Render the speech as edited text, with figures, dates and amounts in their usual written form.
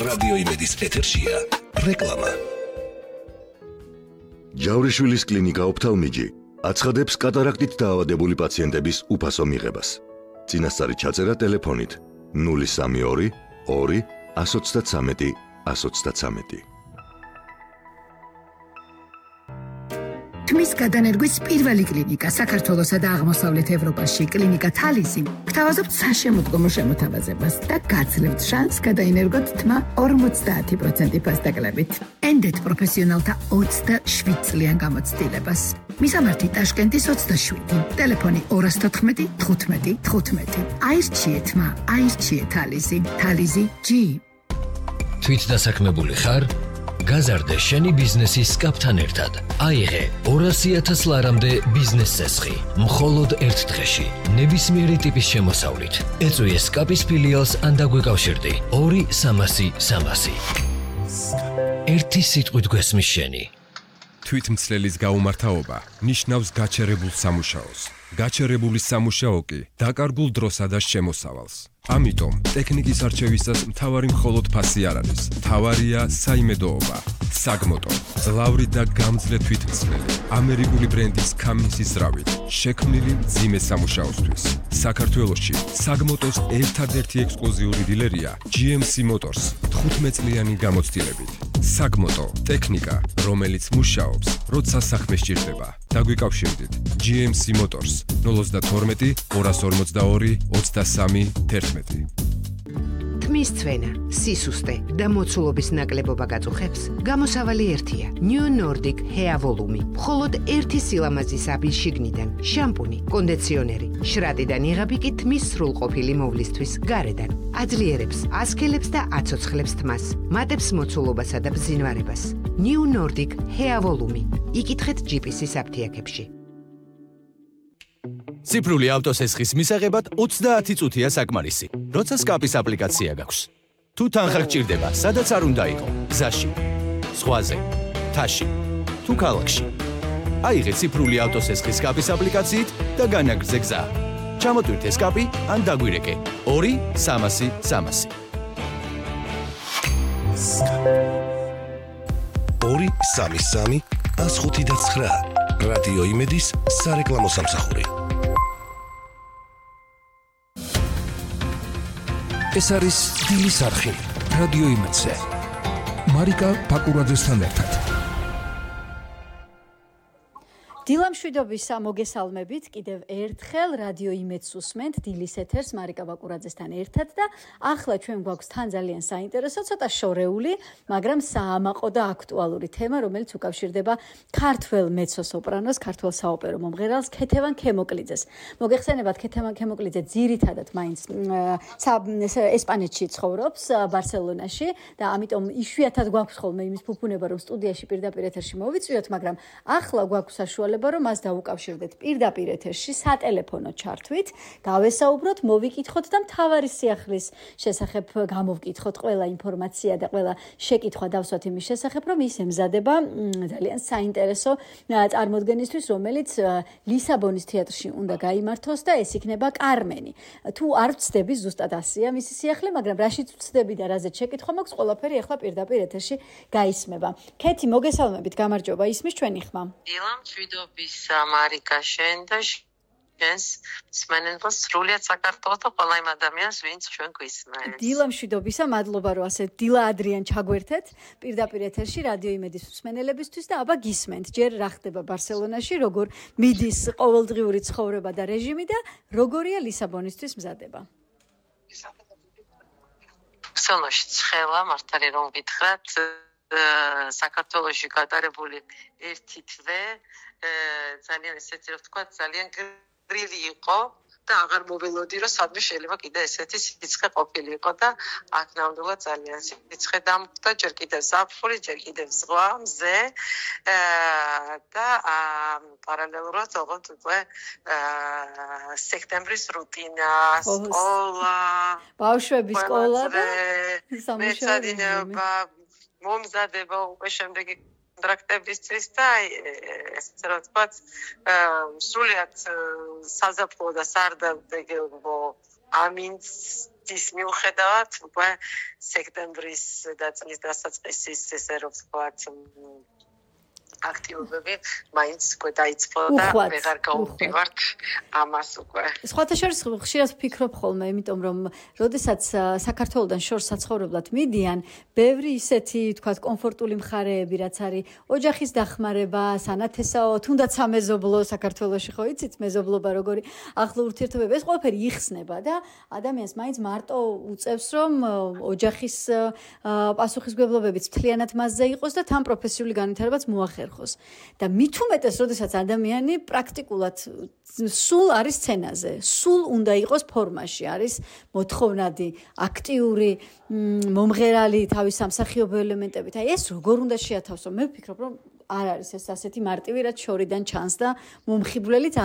რადიო იმედის ეთერშია რეკლამა. ჯავრიშვილის კლინიკა ოფთალმიჯი აცხადებს კატარაქტით დაავადებული პაციენტების უფასო მიღებას. წინასწარი ჩაწერა ტელეფონით 032 2 133 133. თმის გადანერგვის პირველი კლინიკა საქართველოსა და აღმოსავლეთ ევროპაში კლინიკა თალისი გთავაზობთ საშემოდგომო შემოთავაზებას და გაძლევთ შანსს გადაინერგოთ თმა 50% ფასდაკლებით. ენდეთ პროფესიონალთა 27 წლიან გამოცდილებას. მისამართი ტაშკენტის 27, ტელეფონი 214 15 15. აირჩიეთ თმა, აირჩიეთ თალისი, თალისი G. თვით დასაქმებული ხარ? გაზარდე შენი ბიზნესის სკაპთან ერთად. აიღე 200,000 ლარამდე ბიზნეს წესხი. მხოლოდ ერთ დღეში. ნებისმიერი ტიპის შემოსავლით. ეწვიე სკაპის ფილიალს ან დაგვეკავშირდი 2-300-300. ერთი სიტყვით გვესმის შენი. თვითმცლელის გაუმართაობა ნიშნავს გაჩერებულ სამუშაოს. გაჩერებული სამუშაო კი დაკარგულ დროსა და შემოსავალს. ამიტომ ტექნიკის არჩევისას მთავარი მხოლოდ ფასი არ არის. მთავარია საიმედოობა. საგმოტო, ძლავრი და გამძლე თვითმცლელი, ამერიკული ბრენდის Cummins-ის ზრავით, შექმნილი მძიმე სამუშაოსთვის. საქართველოში საგმოტოს ერთადერთი ექსკლუზიური დილერია GMC Motors 15 წლიანი გამოცდილებით. საგმოტო, ტექნიკა, რომელიც მუშაობს, როცა საქმე სჭირდება. დაგვიკავშირდით GMC Motors 012 242 23 11. თმის ცვენა, სისუსტე და მოცულობის ნაკლებობა გაწუხებს, გამოსავალი ერთია. New Nordic Hair Volume. მხოლოდ ერთი სილამაზის აბი შიგნიდან, შამპუნი, კონდიციონერი, შრატიდან იღები კი თმის სრულყოფილი მოვლისთვის გარედან. აძლიერებს, ასქელებს და აცოცხლებს თმას, მატებს მოცულობასა და ბზინვარებას. New Nordic Hair Volume. იკითხეთ GPS-ის აფთიაქებში. ციფრული ავტოსესხის მისაღებად 30 წუთია საკმარისი, როცა სკაპის აპლიკაცია გაქვს. თუ თანხა გჭირდება, სადაც არ უნდა იყო, გზაში, ზღვაზე, მთაში, თუ ქალაქში. აიღე ციფრული ავტოსესხის სკაპის აპლიკაციით და განაგრძე გზა. ჩამოტვირთე სკაპი ან დაგვირეკე 2-300-300. 2-3-3-105-9 რადიო იმედის სარეკლამო სამსახური. ეს არის დილის არხი რადიო იმედზე. მარიკა ბაკურაძესთან ერთად. დილამშვიდობისა მოგესალმებით კიდევ ერთხელ რადიო იმედს უსმენთ დილის ეთერს მარიკა ბაკურაძესთან ერთად და ახლა ჩვენ გვაქვს თან ძალიან საინტერესო, ცოტა შორეული, მაგრამ საამაყო და აქტუალური თემა, რომელიც უკავშირდება ქართველ მეცო-სოპრანოს, ქართველ საოპერო მომღერალს ქეთევან ქემოკლიძეს. მოგეხსენებათ, ქეთევან ქემოკლიძე ძირითადად მაინც ესპანეთში ცხოვრობს, ბარსელონაში და ამიტომ იშვიათად გვაქვს ხოლმე იმის ფუფუნება, რომ სტუდიაში პირდაპირ ეთერში მოვიწვიოთ, მაგრამ ახლა გვაქვს საშუალება რომ მას დაუკავშირდეთ პირდაპირ ეთერში სატელეფონო ჩართვით, დავესაუბროთ, მოვიკითხოთ და მთავარი სიახლის შესახებ გამოვკითხოთ ყველა ინფორმაცია და ყველა შეკითხვა დავსვათ იმის შესახებ, რომ ის ემზადება ძალიან საინტერესო წარმოდგენისთვის, რომელიც ლისაბონის თეატრში უნდა გაიმართოს და ეს იქნება კარმენი. თუ არ ვცდები, ზუსტად ასია მისი სიახლე, მაგრამ რაშიც ვცდები და რაზეც შეკითხვა მაქვს, ყველაფერი ახლა პირდაპირ ეთერში გაისმება. ქეთი, მოგესალმებით, გამარჯობა, ისმის ჩვენი ხმა. დილამშვიდობისა მარიკა შენ და შენს მსმენელს სრულიად საქართველოს და ყველა იმ ადამიანს, ვინც ჩვენ გვისმენს. დილამშვიდობისა, მადლობა რომ ასე დილა ადრიან ჩაგვერთეთ პირდაპირ ეთერში რადიო იმედის მსმენელებისთვის და აბა გისმენთ. ჯერ რა ხდება ბარსელონაში, როგორ მიდის ყოველდღიური ცხოვრება და რეჟიმი და როგორია ლისაბონისთვის მზადება. ბარსელონაში ცხელა, მართალი რომ გითხრათ, საქართველოში გადარებული ერთი თვე ძალიან ესეთი რომ თქვა ძალიან გრილი იყო და აღარ მოველოდი რომ სადმე შეიძლება კიდე ესეთი სიცხე ყოფილიყო და აქ ნამდვილად ძალიან სიცხე დამხვდა, ჯერ კიდევ ზაფხული, ჯერ კიდევ ზღვა, მზე და პარალელურად ოღონდ უკვე სექტემბრის რუტინა, სკოლა, ბავშვების სკოლა და სამუშაოები მომზადება უკვე შემდეგი კონტრაქტებისთვის და ესე რომ ვთქვათ, სრულიად საზაფხულო და სარდაფეგო ამინს ის მიუხედავად უკვე სექტემბრის და წლის დასაწყისის ესე რომ ვთქვათ აქტივობები მაინც უკვე დაიწყო და ვეღარ გავუვდივართ ამას უკვე. სხვათა შორის ხშირად ვფიქრობ ხოლმე, იმიტომ რომ როდესაც საქართველოსთან შორს საცხოვრებლად მიდიან, ბევრი ისეთი, თქვათ, კომფორტული მხარეები, რაც არის ოჯახის დახმარება, სანათესაო, თუნდაც სამეზობლო საქართველოში ხო იცით, მეზობლობა როგორი ახლო ურთიერთობები, ეს ყველაფერი იხსნება და ადამიანს მაინც მარტო უწევს, რომ ოჯახის პასუხისმგებლობებიც მთლიანად მასზე იყოს და თან პროფესიული განვითარებაც მოახერხოს. და მით უმეტეს, როდესაც ადამიანი პრაქტიკულად სულ არის სცენაზე, სულ უნდა იყოს ფორმაში, არის მოთხოვნადი, აქტიური, მომღერალი თავის სამსახიობო ელემენტებით. აი ეს როგორ უნდა შეათავსო? მე ვფიქრობ, რომ არ არის ეს ასეთი მარტივი, რაც შორიდან ჩანს და მომხიბვლელიც